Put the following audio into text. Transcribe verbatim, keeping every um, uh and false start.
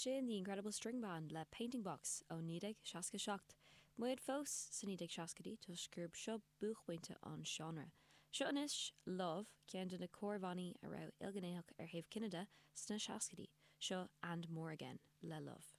Sin The Incredible String Band le Painting Box ó naoi déag seasca seacht. Muid fós sna naoi déag seascaidí toisc gurb seo buaicphointe an seánra. Seo anois Love ceann de na mórbhannaí a raibh ilghnéitheach ar thaobh cine de sna seascaidí, seo And More Again le Love.